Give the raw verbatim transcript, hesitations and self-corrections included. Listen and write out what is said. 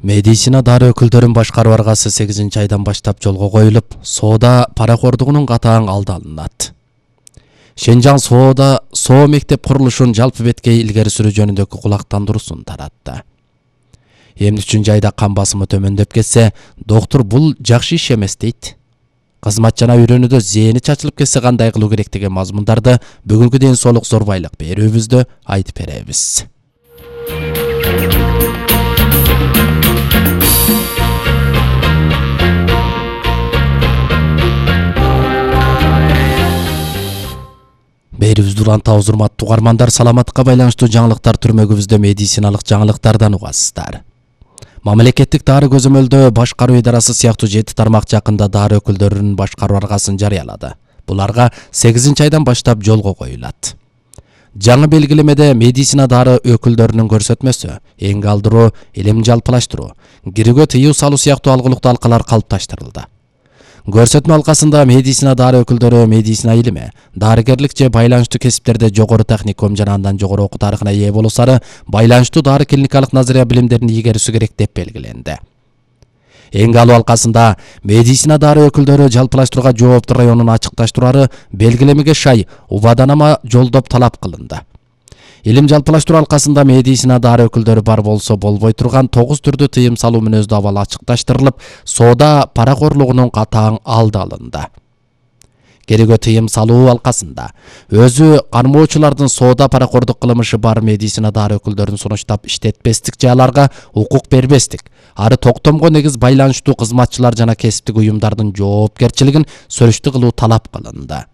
Медицина дары өкүлдөрүн башкаруу аргасы сегизинчи айдан баштап жолго коюлуп, соода паракордугунун катаң алды алынат. Шенжан соода соо мектеп курулушун жалпы беткей илгери сүрүү жөнүндөгү кулактандыруусун таратты. Эмне үчүн жайда кан басымы төмөндөп кетсе, доктор бул жакшы иш эмес дейт. Кызмат жана үйрөнүүдө зээни чачылып кетсе кандай кылуу керек деген мазмундарды бүгүнкү ден соолук зорбайлык берүүбүздө айтып беребиз. Берүүбүздү урантабыз, урматтуу угармандар. Саламатка байланыштуу жаңылыктар түрмөгүбүздө медициналык жаңылыктардан угасыздар. Мамлекеттик дары көзөмөлдөө башкаруу идарасы сыяктуу жети тармак жакында дары өкүлдөрүнүн башкаруу аргасын жарыялады. Буларга сегизинчи айдан баштап жолго коюлат. Жаңы белгилемеде медицина дары өкүлдөрүнүн көрсөтмөсү, эң алдыруу, илим жалпылаштыруу, кирүүгө тыюу салуу сыяктуу алгылыктуу алкалар калыпташтырылды. Көрсөтмө алкасында медицина дары өкүлдөрү медицина илими, дарыгерлик же байланыштуу кесиптерде жогору техникум жана андан жогору окуу тарыхына ээ болушары, байланыштуу дары клиникалык назария билимдерин ийгерүүсү керек деп белгиленди. Эң алуу алкасында медицина дары өкүлдөрү жалпылаштырууга жооптуу районун ачыкташтырары белгилемеге шай убаданама жолдоп талап кылынды. Илим жалпылаштыруу алкасында медицина дары өкүлдөрү бар болсо болбой турган тогуз түрдүү тыйым салуу мүнөздүү абал ачыкташтырылып, соода паракорлугунун катаң алды алынды. Керегө тыйым салуу алкасында өзү кармоочулардын соода паракордук кылмышы бар медицина дары өкүлдөрүн сунуштап иштетпестик же аларга укук бербестик, ары токтомго негиз байланыштуу кызматчылар жана кесиптик уюмдардын жоопкерчилигин сурүштүү кылуу талап кылынды.